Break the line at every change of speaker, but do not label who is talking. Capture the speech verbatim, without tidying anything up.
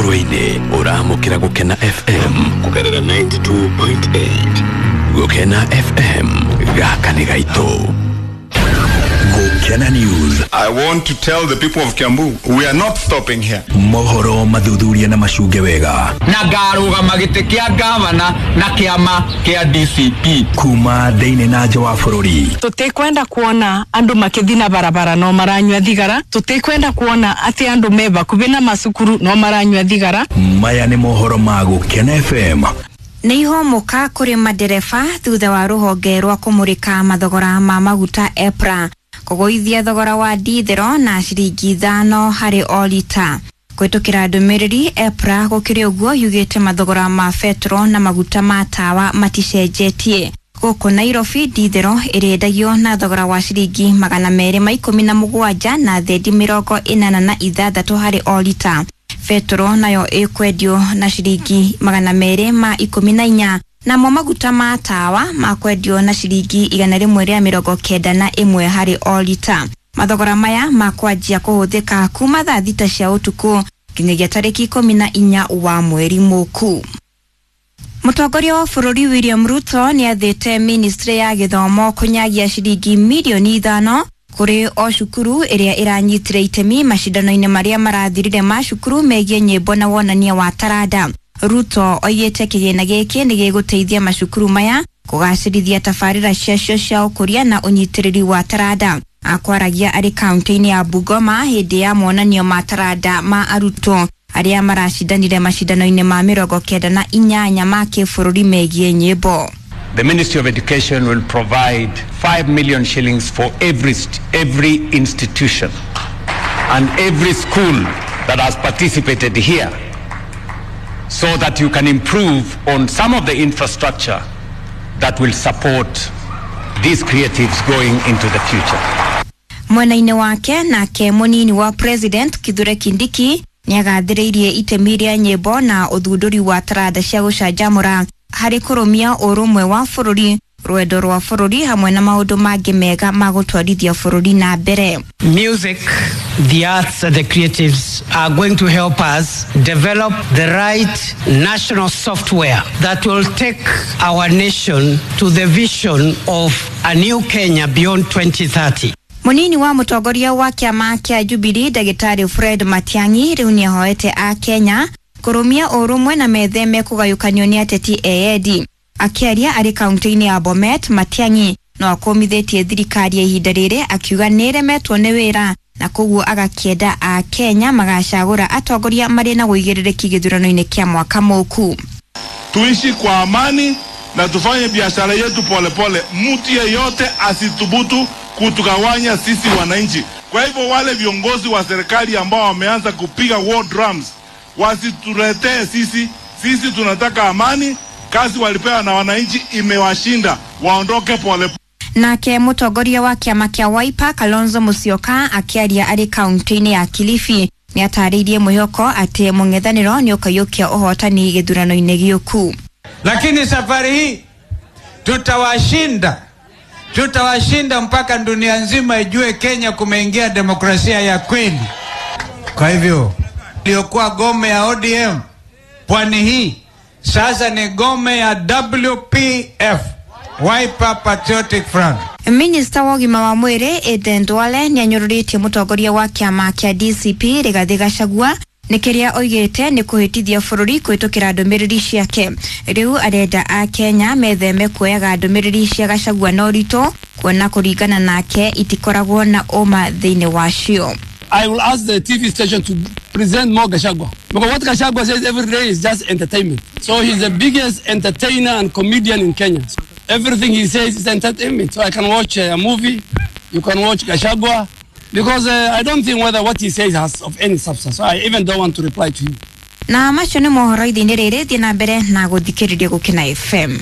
Mukurweini uramukira Gukena F M kugerera ninety two point eight. Gukena F M gaka ni gaitu. Gukena News.
I want to tell the people of Kiambu, we are not stopping here.
Mohoro mathuthuria na macuge wega.
Na ngarũgama gĩtĩ kĩa gavana na kĩama kĩa D C P.
Kuma thĩinĩ na nja wa bũrũri.
Tũtikwenda kuona andũ makĩthiĩ na barabara no maranyua thigara. Tũtikwenda kuona atĩ andũ me bakubi na macukuru no maranyua thigara.
Maya nĩ mohoro ma Gukena F M.
Nĩ ihomoka kũrĩ madereba thutha wa rũhonge rwa kũmũrĩka mathogora ma maguta EPRA kũgũithia thogora wa dithero na ciringi ithano harĩ o lita. Kũhĩtũkĩra ndũmĩrĩri EPRA gũkĩrĩ ũguo yugĩte mathogora ma betro na maguta ma tawa maticenjetie. Gũkũ Nairobi dithero ĩrĩendagio na thogora wa ciringi magana merĩ ma ikũmi na mũgwanja na thendi mĩrongo ĩnana na ithathatũ harĩ o lita. Petro nayo ĩkwendio na ciringi magana merĩ ma ikũmi na inya namo maguta ma tawa makwendio na ciringi igana rĩmwe rĩa mĩrongo kenda na ĩmwe harĩ o lita. Mathogora maya makwanjia kũhũthĩka kuma thaa thita cia ũtukũ nginyagia tarĩki ikũmi na inya wa mweri mũku. Mũtongoria wa bũrũri William Ruto nĩathĩte ministry ya gĩthomo kũnyagia ciringi mirioni ithano kũrĩ o cukuru ĩrĩa ĩranyitire itemi macindano-inĩ marĩa marathirire ma cukuru megiĩ nyĩmbo na wonania wa taranda. Ruto oigĩte kĩgĩna gĩkĩ nĩ gĩgũteithia macukuru maya kũgacĩrithia tabarĩra ciacio cia ũkũria na ũnyitĩrĩri wa taranda. Akwaragia arĩ kaunti-inĩ ya Bungoma hĩndĩ ya monanio ma taranda ma arutwo arĩa maracindanire macindano-inĩ ma mĩrongo kenda na inyanya ma kĩbũrũri megiĩ nyĩmbo.
The Ministry of Education will provide five million shillings for every, every institution and every school that has participated here so that you can improve on some of the infrastructure that will support these creatives going into the future.
Mwena-inĩ wake nake mũnini wa President Kithure Kindiki nĩagathĩrĩirie itemi rĩa nyĩmbo na ũthundũri wa taranda cia gũcanjamũra harĩ kũrũmia ũrũmwe wa bũrũri, rwendo rwa bũrũri hamwe na maũndũ mangĩ mega ma gũtwarithia bũrũri na mbere.
Music, the arts and the creatives are going to help us develop the right national software that will take our nation to the vision of a new Kenya beyond twenty thirty.
Munini wa mũtongoria wa kĩama kĩa Jubilee Ndagĩtarĩ Fred Matiang'i rĩu nĩahoete a Kenya kũrũmia ũrũmwe na metheme kũgayũkanio nĩ ateti eyendi. Akĩaria arĩ kaunti-inĩ ya Bomet, Matiang'i no akũmithĩtie thirikari ya ihinda rĩrĩ akiuga nĩĩremetwo nĩ wĩra na koguo agakĩenda a Kenya magacagũra atongoria marĩ na ũigĩrĩrĩki gĩthurano-inĩ kĩa mwaka mũku.
Tuishi kwa amani na tufanye biashara yetu polepole. Mtu yeyote asithubutu kutugawanya sisi wananchi. Kwa hivyo wale viongozi wa serikali ambao wameanza kupiga war drums wasituletee sisi. Sisi tunataka amani. Kazi walipewa na wananchi imewashinda, waondoke pole.
Nake mũtongoria wa kĩama kĩa Wiper Kalonzo Musyoka akĩaria arĩ kaunti-inĩ ya Kilifi nĩatarĩirie mwĩhoko atĩ mũng'ethanĩro nĩũkaiyũkia ũhotani gĩthurano-inĩ gĩũku.
Lakini safari hii tutawashinda, tutawashinda mpaka dunia nzima ijue Kenya kumeingia demokrasia ya kweli. Kwa hivyo iliyokuwa gome ya O D M pwani hii sasa ni gome ya W P F, Wiper Patriotic Front.
Minister wa ũgima wa mwĩrĩ Aden Duale nĩanyũrũrĩtie mũtongoria wa kĩama kĩa D C P Rigathĩ Gachagua nĩ kĩrĩa oigĩte nĩ kũhĩtithia bũrũri kũhĩtũkĩra ndũmĩrĩri ciake. Rĩu arenda a Kenya metheme kuoyaga ndũmĩrĩri cia Gachagua na ũritũ kuona kũringana nake itikoragwo na ũma thĩinĩ wacio.
I will ask the T V station to present more Gachagua. Because what Gachagua says every day is just entertainment. So he's the biggest entertainer and comedian in Kenya. So everything he says is entertainment. So I can watch a movie, you can watch Gachagua, because uh, I don't think whether what he says has of any substance. So I even don't want to reply to him.
Na macio nĩ mohoro ithinĩ rĩrĩ, thiĩ na mbere na gũthikĩrĩria Gũkena F M.